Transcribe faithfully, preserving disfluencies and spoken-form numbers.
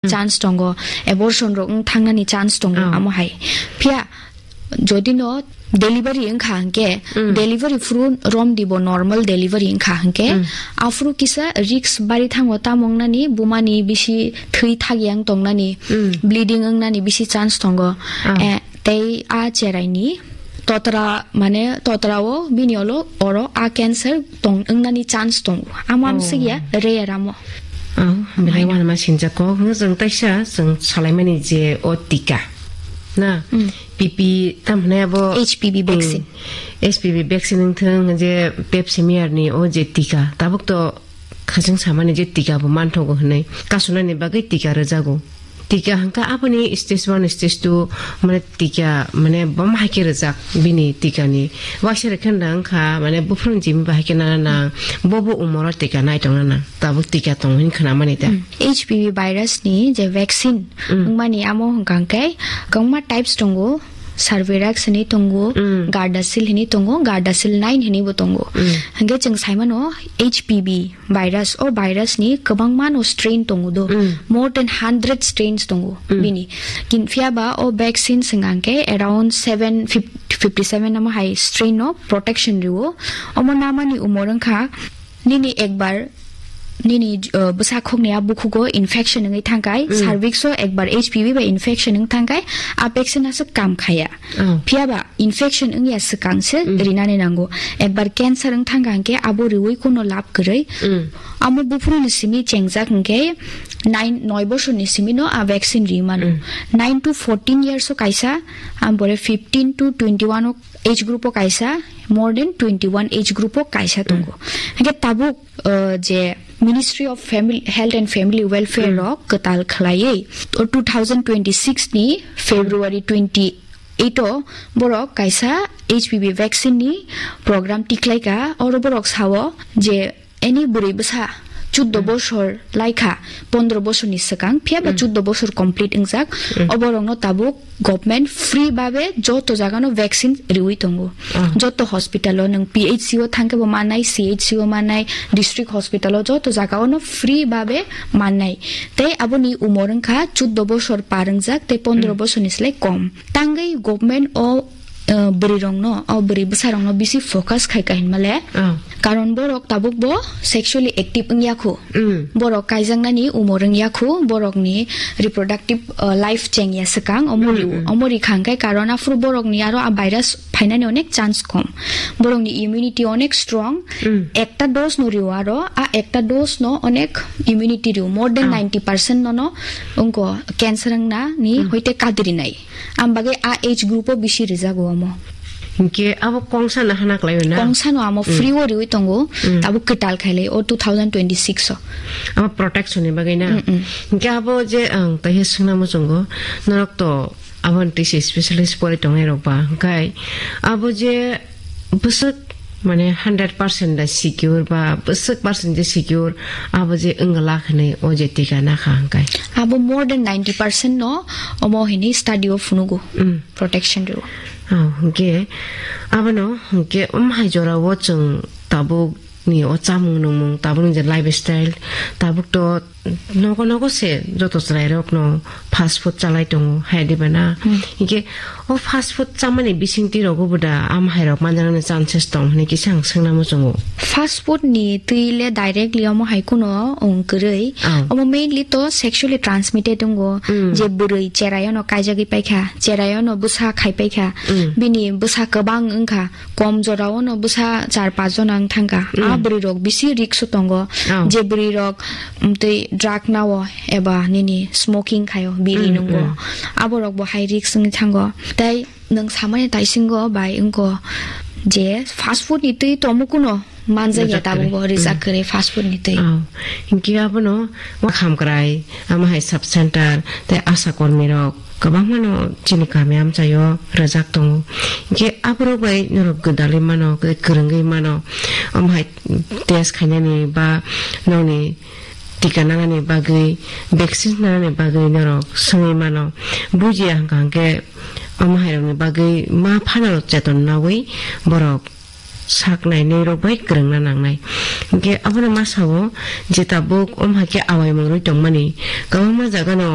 chance tongo, abortion rok wng thangnani chance tongo, oh, amo hai. Phiya jodi no delivery wngkha hwnkhe, mm, delivery phuru romdi bo normal delivery wngkha hwnkhe, mm, aphuru kisa risk bari thango, tamo wngnani bumani bisi thwi thagyang tongnani, mm, bleeding wngnani bisi chance tongo. Ah. Eh, tei a cheraini totra, mane totra o bini olo oro a cancer tong wngnani chance tongo. Amo, oh, amswk ya, rare amo. Oh, belai, haino, wanama sinjak kok. Hwnkhe chwng taisa chwng salaimani je o tika. Na, mm, P P tam hwnwi abo, H P V, mm, vaccine. H P V vaccine wngthwng je Pap smear ni o je tika. Tabuk to khachwng samani je tika bo manthogo hwnwi. Kasunani bagwi tika rwjago. Tika hwnkha aboni stage one, stage two, mane tika, mane bom hai khe rwjak bini tikani. Waisa rwkhe nang kha, mane buphuruni jimi bahai khe nana nang, bo bo umoro tika nai tongna nang. Tabuk tika tongo hin khwnamani ta. Hmm. H P V virus ni je vaccine, hmm, wngmani amo hwnkha hwnkhe kwbangma types tongo. Cervarix hinwi tongo, hmm, Gardasil hinwi tongo, Gardasil nine hinwi bo tongo. Hmm. Hwnkhe chwng saimano H P V virus, o virus ni kwbangma no strain tongo do. Mm. More than hundred strains tongo, mm, bini. Kin phiya ba o vaccine swnga hwnkhe around seven fifty, fifty seven amo hai strain no protection rwo. Omo namani umor wngkha nini ekbar nini, uh, bwsakhokni a bukhugo infection wngwi thangkai, mm, cervix o ekbar H P V bai infection wng thangkai, a vaccine aswk kam khaya. Oh. Phiya ba infection wngya swkang se, mm, rinani nango. Ekbar cancer wng thangkha hwnkhe abo riwi kuno lab kwrwi. Mm. Amo buphuruni simi chengjak hwnkhe nine, noi bosorni simi no a vaccine ri mano. Mm. Nine to fourteen years o kaisa, ambore fifteen to twenty one o age group o kaisa, more than twenty one age group o kaisa tongo. Mm. Hwnkhe tabuk, uh, je Ministry of Family, Health and Family Welfare, mm, rok kwtal khwlaiwi o two thousand twenty six ni February twenty eight o borok kaisa H P V vaccine ni program tiklaika. Oro borok sao je any bwrwi bwsa chuddo, mm, bosor laikha, pondro bosorni swkang, phiya ba, mm, chuddo bosor complete wngjak, mm, oborokno tabuk government free babe joto jagano vaccine riwi tongo. Ah. Joto hospital o nwng P H C o thangkhe bo mannai, C H C o mannai, district hospital o joto jaga ono free babe mannai. Tei aboni umor wngkha chuddo bosor par wngjak tei pondro, mm, bosorni slai kom. Tangwi government o, eh, bwrwi rokno, o bwrwi bwsa rokno bisi focus khai ka hinmale. Ah. Karon borok tabuk bo sexually active wngya kho. Mm. Borok kaijaknani umor wngya kho, borokni reproductive, uh, life chengya swkang, omo ri-, mm, mm, omo ri kha hwnkhe, karon aphuru borokni aro a virus phainani onek chance kom. Borokni immunity onek strong. Mm. Ekta dose no rio aro, a ekta dose no onek immunity rio. More than, ah, ninety percent no no wngko cancer wngna ni, mm, hoite kadri nai. Am bagwi a age group o bisi rijago omo. Hinkhe abo kongsa no hana kwlai o na? Kongsa no amo, mm, free o riwi tongo, mm, tabuk kwtal khailai o two thousand twenty six o. Abo protection ni bagwi na? Mm, mm. Hinkhe abo je ang taihe swngna muchungo, norok to abo ni twi se specialist pori tongnai rok ba, hwnkhe abo je bwswk mane hundred percent da secure ba bwswk percent je secure, abo je wngla hwnwi o je tika nakha hwnkhe. Abo more than ninety percent no omo hwnwi study o phunugo, mm, protection rwo. Oh, hwnkhe abono hwnkhe um hai jora o chwng tabuk ni o chamung nungmung, tabuk ni je lifestyle, tabuk to nogo nogo se joto chwrai rok no fast food chalai tongo, hai diba na? Hmm. Hinkhe o fast food chamani bisingtwi rogo bo da am hai rok manjaknani chances tong hinwi kisa ang swngna muchungo. Fast food ni twi le directly omo hai kuno wng kwrwi. Oh. Omo mainly to sexually transmitted wngo, hmm, je bwrwi cherai ono kaijagwi paikha, cherai ono bwsa khai paikha, hmm, bini bwsa kwbang wngkha, kom jora o no bwsa char paanch jona wng thangkha. A, mm, bwrwi rok bisi risk o tongo. Oh. Je bwrwi rok, mm, tei drug nao eba nini smoking khaio, biri, mm, nungo. Mm. Abo rok bo hai risk wngwi thango. Tei nwng samani taisingo bai wngko je fast food ni twi tomo kuno manjak ya. Manjak tabuk kwrwi. Bo rijak, mm, kwrwi fast food ni twi. Oh. Hinkhe abono wa khamkrai, ama hai sub center tei asha kormi rok kwbangmano chini kami amchaio rwjak tongo. Hinkhe aborok bai norok gwdalwi mano, kwrwngwi mano. Omo hai test khainani ba nokni tika nanani bagwi, vaccine nanani bagwi norok swngwi mano. Bujiya hwnkha hwnkhe omo hairokni bagwi ma phano cheton nawi borok sak nainai rok bai kwrwngna nangnai. Hinkhe abono ma sao je tabuk omo hai khe awaimung rwi tongmani kwbangma jaga no.